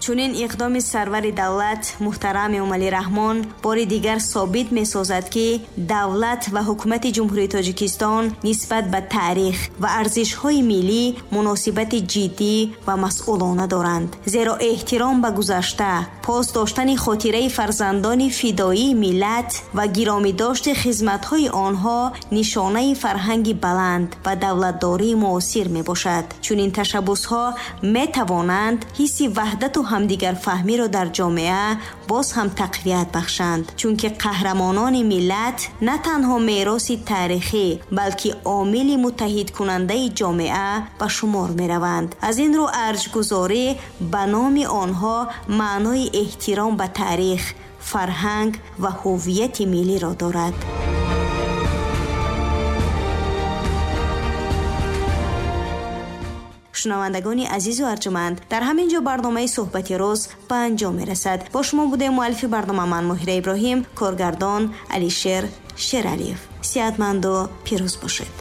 Чунин иқдоми сарвари давлат муҳтарам Эмомалӣ Раҳмон бори дигар собит месозад, ки давлат ва ҳукумати Ҷумҳурии Тоҷикистон нисбат ба таърих ва арзишҳои миллӣ муносибати ҷиддӣ ва масъулона доранд. Зеро эҳтиром ба гузашта, пос доштани хотираи фарзандони фидоии миллат ва гиромӣ дошти хизматҳои онҳо нишонаи фарҳанги баланд ва давлатдории муосир мебошад. Чунин ташаббусҳо метавонанд ҳисси ваҳдату ҳамдигарфаҳмиро дар ҷомеа боз ҳам тақвият бахшанд, чунки қаҳрамонони миллат на танҳо мероси таърихӣ, балки омили муттаҳидкунандаи ҷомеа ба шумор мераванд. Аз ин рӯ арҷгузорӣ ба номи онҳо маънои эҳтиром ба таърих, фарҳанг ва ҳуввияти миллиро дорад. Шунавандагони азизу арҷуманд, дар ҳамин ҷо барномаи суҳбати рӯз ба анҷом мерасад. Бо шумо будем муаллифи барнома ман Моҳира Иброҳим, коргардон Алишер Шералиев. Сиҳатманду пирӯз бошед.